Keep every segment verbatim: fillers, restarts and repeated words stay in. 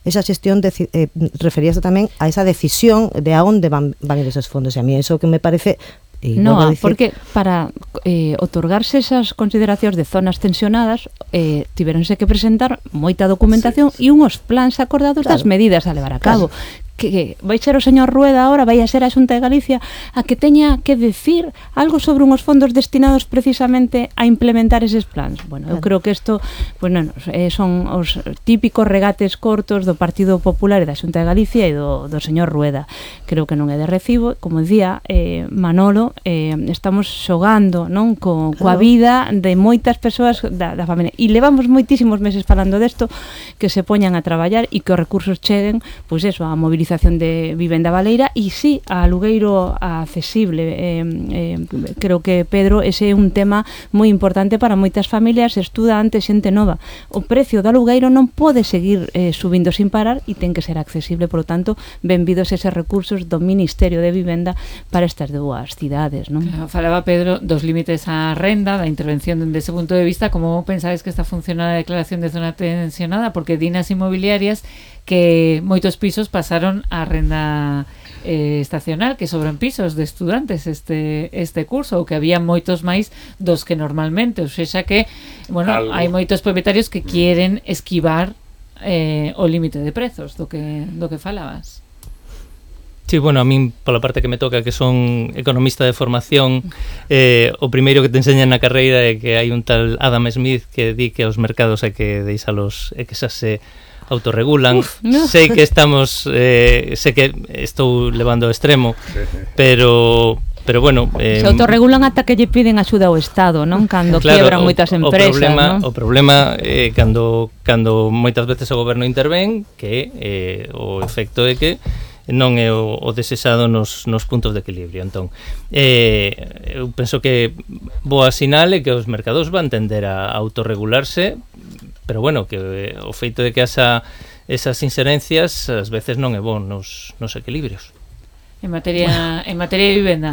esa xestión de, eh, referíase tamén a esa decisión de a onde van, van ir esos fondos, e a mí eso que me parece. No, decir... porque para eh, otorgarse esas consideracións de zonas tensionadas eh, tiveronse que presentar moita documentación e sí, sí. unhos plans acordados claro. das medidas a levar a cabo. Claro. Que, que vai ser o señor Rueda ahora, vai a ser a Xunta de Galicia a que teña que decir algo sobre unhos fondos destinados precisamente a implementar eses plans. Bueno, eu creo que isto pues, non, eh, son os típicos regates cortos do Partido Popular e da Xunta de Galicia e do, do señor Rueda. Creo que non é de recibo. Como dicía eh, Manolo, eh, estamos xogando non co, coa vida de moitas persoas da, da familia. E levamos moitísimos meses falando desto, que se poñan a traballar e que os recursos cheguen, pois eso, a movilización de vivenda baleira e sí, a alugueiro accesible. Eh, eh, creo que, Pedro, ese é un tema moi importante para moitas familias, estudantes, xente nova. O precio do alugueiro non pode seguir eh, subindo sin parar e ten que ser accesible, por lo tanto, benvidos eses recursos do Ministerio de Vivenda para estas dúas cidades, non? Claro, falaba Pedro dos límites á renda, da intervención dende ese punto de vista. Como pensades que está funcionando a declaración de zona tensionada? Porque dinas inmobiliarias que moitos pisos pasaron a renda eh, estacional, que sobran pisos de estudantes este este curso, ou que había moitos máis dos que normalmente, ou seja que, bueno, Algo. hai moitos propietarios que queren esquivar eh, o límite de prezos do que do que falabas. Sí, bueno, a min, pola parte que me toca, que son economista de formación, eh, o primeiro que te enseñan na carreira é que hai un tal Adam Smith que di que os mercados hai que deixalos, é que xa se autorregulan. Uf, no. Sei que estamos eh, sei que estou levando ao extremo, pero pero bueno, eh, se autorregulan ata que lle piden axuda ao Estado, non? Cando claro, quiebran moitas empresas, o problema, non? O problema é eh, cando cando moitas veces o goberno intervén, que eh, o efecto é que non é o, o desexado nos, nos puntos de equilibrio. Entón, eh, eu penso que boa sinal é que os mercados van tender a autorregularse, pero bueno, que eh, o feito de que asa esas inserencias ás veces non é bon nos, nos equilibrios. En materia, en materia de vivenda.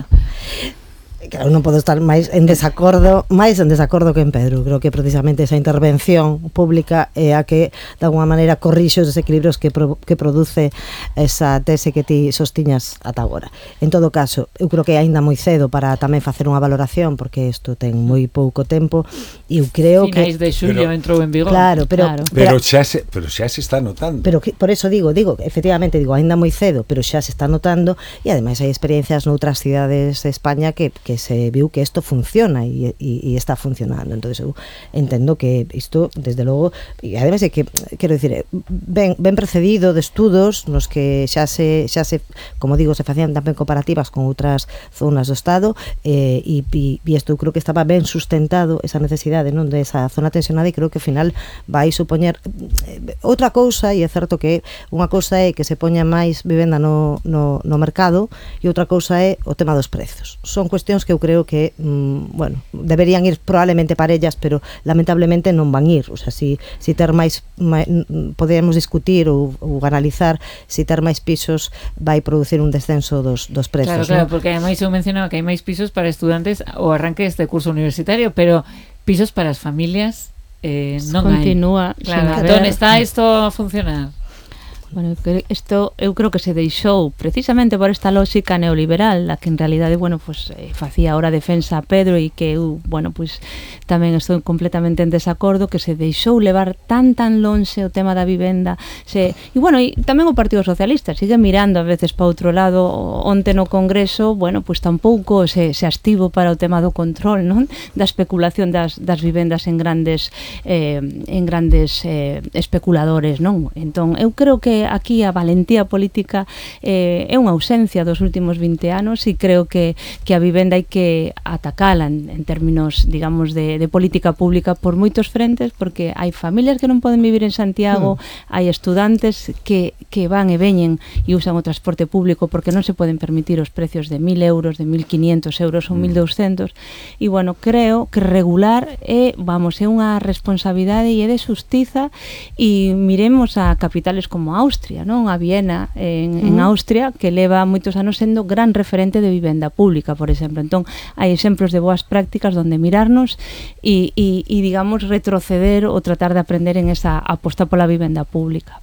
Claro, non podo estar máis en desacordo, máis en desacordo que en Pedro. Creo que precisamente esa intervención pública é a que de alguma maneira corrixe os desequilibrios que, pro, que produce esa tese que ti sostiñas ata agora. En todo caso, eu creo que é aínda moi cedo para tamén facer unha valoración, porque isto ten moi pouco tempo e eu creo Finais que de xullo entrou en vigor. Claro, pero claro. pero, pero xa se pero xa se está notando. Pero que, por eso digo, digo, efectivamente digo, aínda moi cedo, pero xa se está notando e ademais hai experiencias noutras cidades de España que que se viu que isto funciona e, e, e está funcionando. Entonces eu entendo que isto, desde logo, e ademais é que, quero dicir, ben, ben precedido de estudos nos que xa se, xa se, como digo, se facían tamén comparativas con outras zonas do Estado eh, e, e, e isto eu creo que estaba ben sustentado esa necesidade, non, de esa zona tensionada, e creo que ao final vai supoñer eh, outra cousa, e é certo que unha cousa é que se poña máis vivenda no, no, no mercado e outra cousa é o tema dos prezos. Son cuestións que eu creo que, mm, bueno, deberían ir probablemente parellas, pero lamentablemente non van ir. O sea, si, si ter máis, máis podemos discutir ou, ou analizar si ter máis pisos vai producir un descenso dos, dos prezos. Claro, claro, ¿no? porque ademais eu mencionaba que hai máis pisos para estudantes o arranque deste curso universitario, pero pisos para as familias eh, non continúa hai. Claro, entón está isto a funcionar. Bueno, isto eu creo que se deixou precisamente por esta lógica neoliberal, a que en realidade, bueno, pues eh, facía ahora defensa a Pedro e que eu, bueno, pues tamén estou completamente en desacordo, que se deixou levar tan tan lonxe o tema da vivenda, se, e bueno, e tamén o Partido Socialista sigue mirando a veces para outro lado. Onte no Congreso, bueno, pues tampouco se, se astivo para o tema do control, non? Da especulación das, das vivendas en grandes eh, en grandes eh, especuladores, non? Entón, eu creo que aquí a valentía política eh, é unha ausencia dos últimos vinte anos, e creo que, que a vivenda hai que atacala en, en términos, digamos, de, de política pública por moitos frentes, porque hai familias que non poden vivir en Santiago, mm. hai estudantes que, que van e veñen e usan o transporte público porque non se poden permitir os precios de mil euros, de mil quinientos euros ou mil douscentos, e bueno, creo que regular é, vamos, é unha responsabilidade e é de xustiza, e miremos a capitales como Austria, non? A Viena en, en Austria, que leva moitos anos sendo gran referente de vivenda pública, por exemplo. Entón, hai exemplos de boas prácticas donde mirarnos e, e, e digamos, retroceder ou tratar de aprender en esa aposta pola vivenda pública.